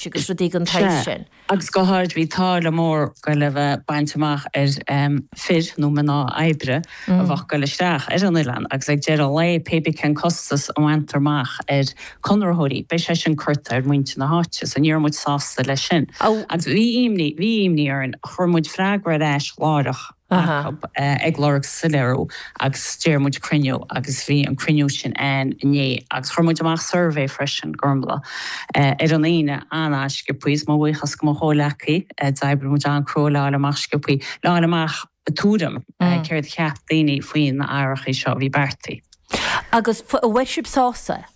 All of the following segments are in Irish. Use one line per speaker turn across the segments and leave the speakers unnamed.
agus rudaí den tsaghas
sin. Agus go háirid bhí táille mór ag goil a bheith bainte amach ar fir nó mná oibre a bheadh ag goil isteach ar an oileán agus ag deireadh an lae pé bith cén costas a bhaintear amach ar conraitheoirí beidh sé sin curtha ar muintir na háite so ní raibh muid sásta leis sin. Agus bhí imní, bhí imní orainn, chuir muid freagra ar ais láithreach. acu ag lorg soiléiriú agus d'iarr muid cruinniú agus bhí an cruinniú sin ann inné agus chuir muid amach suirbhé freisin, Gormlaith, ar an Aoine an-sciobthaí is mo bhuíochas go mo chomhleacaí, d'oibrigh muid an-crua le fháil amach sciobthaí, le fháil amach tuairim céard a cheap daoine faoi na hathruithe seo a bhí beartaithe.
Agus an bhfuair sibh sásamh?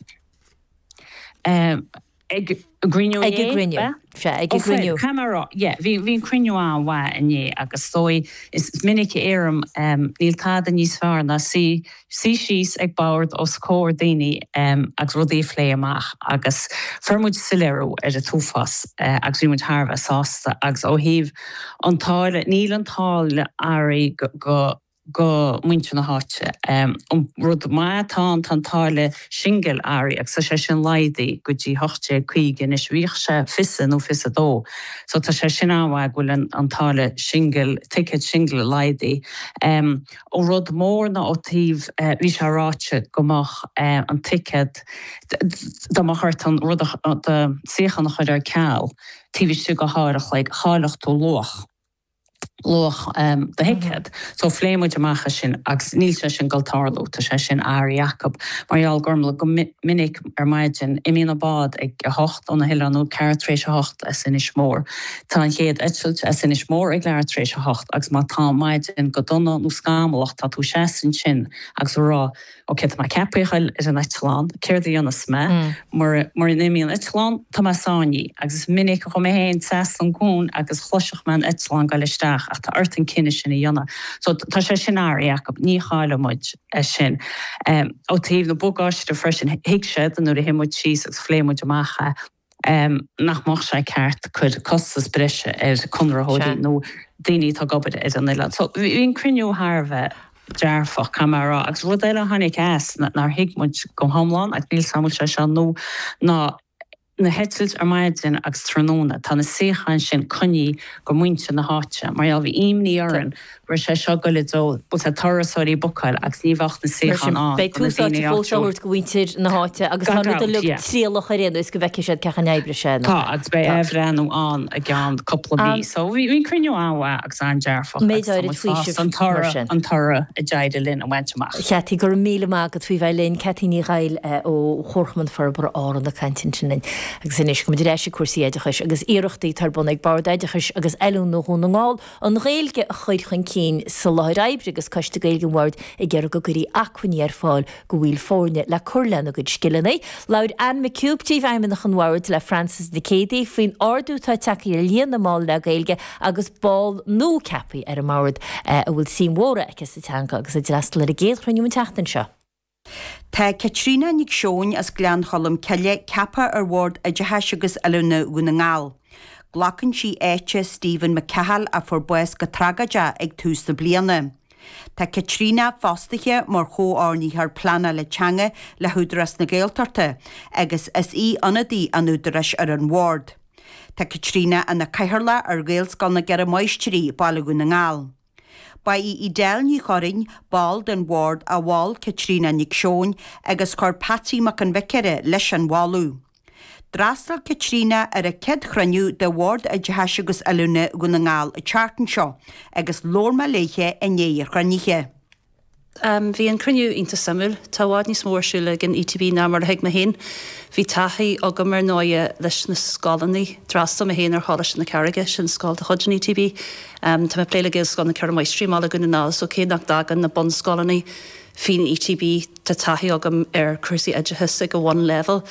Ag an gcruinniú
inné? Ag an gcruinniú. Sea, ag an gcruinniú.
Caithfidh mé a rá, yeah, bhí, bhí an cruinniú an-mhaith inné agus is dóigh, is minic a deirim, níl tada níos fearr ná suí, suí síos ag bord os comhair daoine agus rudaí a phlé amach agus fuair muid soiléiriú ar an t-uafás agus bhí muid thar a bheith sásta agus ó thaobh an táille, níl an táille athraithe go, go, go muintir na háite. An rud maith atá ann, tá an táille singil athraithe agus tá sé sin laghdaithe go dtí 18.50 anois. Bhíodh sé fiche nó 22 so tá sé sin an-mhaith go bhfuil an táille singil, ticéad singil laghdaithe. An rud mór ná ó taobh, bhí sé ráite go mbeadh an ticéad, dá mbeadh ort an rud, do suíochán a chur ar ceal taobh istigh de uair a chloig, chaillfeadh tú luach. luach do thicéad. So phléigh muid amach é sin agus níl sé sin ag dul tarlú, tá sé sin athraithe acu. Mar gheall Gormlaith, go minic ar maidin, imíonn an bád ag 8 ó na hoileáin nó ceathrú tar éis a hocht as Inis Mór. Tá an chéad eitilt as Inis Mór ag leathuair tar éis a hocht agus má tá an maidin go dona nó scamallach tá tú seasta ansin agus ag rá Ok, tá mé ceaptha a ghoil ar an eitleán, céard a dhéanfas mé? Mura n-imíonn an eitleán, tá mé sáinnithe. Agus is minic a chuaigh mé féin trasna an cuan agus chloisfeadh mé an eitleán ag goil isteach ach tá ort an cinneadh sin a dhéanamh. So tá sé sin athraithe acu, ní chaillfidh muid é sin. Ó taobh na bagáiste freisin, thuig siad nuair a shuigh muid síos agus phléigh muid amach é, nach mbeadh sé ceart cur costas breise ar conraitheoirí nó daoine atá ag obair ar an oileán. So bhí an cruinniú thar a bheith dearfach, caithfidh mé a rá. Agus rud eile a tháinig as nár thuig muid go hiomlán, agus níl 's agam an bhfuil sé seo nua, ná na heitilt ar maidin agus tráthnóna, tá na suíocháin sin coinnithe go muintir na háite. Mar gheall, bhí imní orainn go raibh sé seo ag goil i dtreo, bhfuil 's a'd, turasóirí ag bookáil agus ní bheadh na suíocháin ann
Beidh
do na
tús áite
daoine
fós á
áitiúil.
thabhairt go mhuintir na háite agus
Gan
tá an rud
dabht,
uilig
yeah.
trialach ar aon nós go bhfeicfidh siad cén chaoi a n-oibreoidh sé.
Tá, agus beidh
Tá.
athbhreithniú ann i gceann cúpla mí.
An
So bhí bhí an cruinniú an-mhaith agus an-dearfach agus
méid
tá
áirid
muid
faoisimh
sásta an
mar
toradh,
sin.
an toradh a d'éirigh linn a bhaint amach.
Cheataí, go raibh míle maith agat faoi bheith linn. Ceataí Ní Dhaill ó Chomharchumann Forbartha Árann ag caint ansin linn. Agus anois, gabhfaidh muid ar ais ag cúrsaí oideachais agus iarrachtaí atá ar bun ag Bord Oideachais agus Oiliúna Dhún na nGall An Ghaeilge a chur chun cinn sa láthair oibre agus Coiste Gaeilge an Bhoird ag iarraidh go gcuirfí acmhainní ar fáil do bhaill foirne le cur lena gcuid scileanna. Labhair Anne McHugh, Príomhfheidhmeannach an Bhoird, le Frances Nic Géadaigh faoin ardú atá tagtha ar líon na mball le Gaeilge agus ball nua ceaptha ar an mbord a bhfuil suim mhór aici sa teanga agus a d'fhreastail ar an gcéad chruinniú an tseachtain seo.
Tá Caitríona Nic Seoin as Gleann Cholm Cille ceaptha ar Bhord Oideachais agus Oiliúna Dhún na nGall. Glacann sí áit Stephen McCahill a fuair bás go tragóideach ag tús na bliana. Tá Caitríona fostaithe mar Chomhordaitheoir Pleanála Teanga le hÚdarás na Gaeltachta agus is í ionadaí an Údaráis ar an Bhord. Tá Caitríona ina Cathaoirleach ar Ghaelscoil na gCeithre Máistrí, Baile Dhún na nGall. Ba í Edel Ní Churraoin, ball den bhord, a mhol Caitríona Nic Seoin agus chuir Patsy Mac an Bhiocaire leis an mholadh. D'fhreastail Caitríona ar a céad chruinniú de Bhord Oideachais agus Oiliúna Dhún na nGall an tseachtain seo agus labhair mé léithe i ndiaidh an chruinnithe.
Bhí an cruinniú iontach suimiúil. Tá i bhfad níos mó ar siúl ag an ETB ná mar a thuig mé féin. Bhí taithí agam ar ndóighe leis na scoileanna. D'fhreastail mé féin ar Choláiste na Carraige, sin scoil de chuid an ETB. Tá mé ag plé le Gaelscoil na Ceithre Máistrí i mBaile Dhún na nGall so cé nach dtagann na bunscoileanna faoin ETB tá taithí agam ar chúrsaí oideachais ag an bhunleibhéal.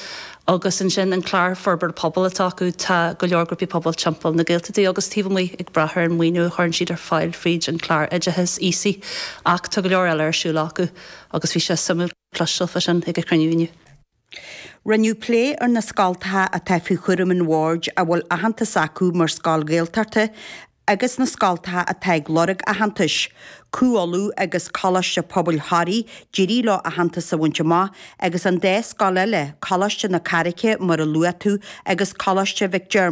Agus ansin an clár forbartha pobail atá acu, tá go leor grúpaí pobail timpeall na Gaeltachtaí agus taobh amuigh ag brath ar an maoiniú a chuireann siad ar fáil fríd an clár oideachais ESI ach tá go leor eile ar siúl acu agus bhí sé suimiúil cloisteáil fá sin ag an chruinniú inniu.
Rinneadh plé ar na scoltacha atá faoi chúram an Bhoird a bhfuil aitheantas acu mar scoil Ghaeltachta. Agus na scoltacha atá ag lorg aitheantais, Cú Uladh agus Coláiste Pobail Thoraí, d'éirigh leo aitheantas a bhaint amach, agus an dá scoil eile, Coláiste na Carraice mar a luaigh tú agus Coláiste Mhic Diarmada.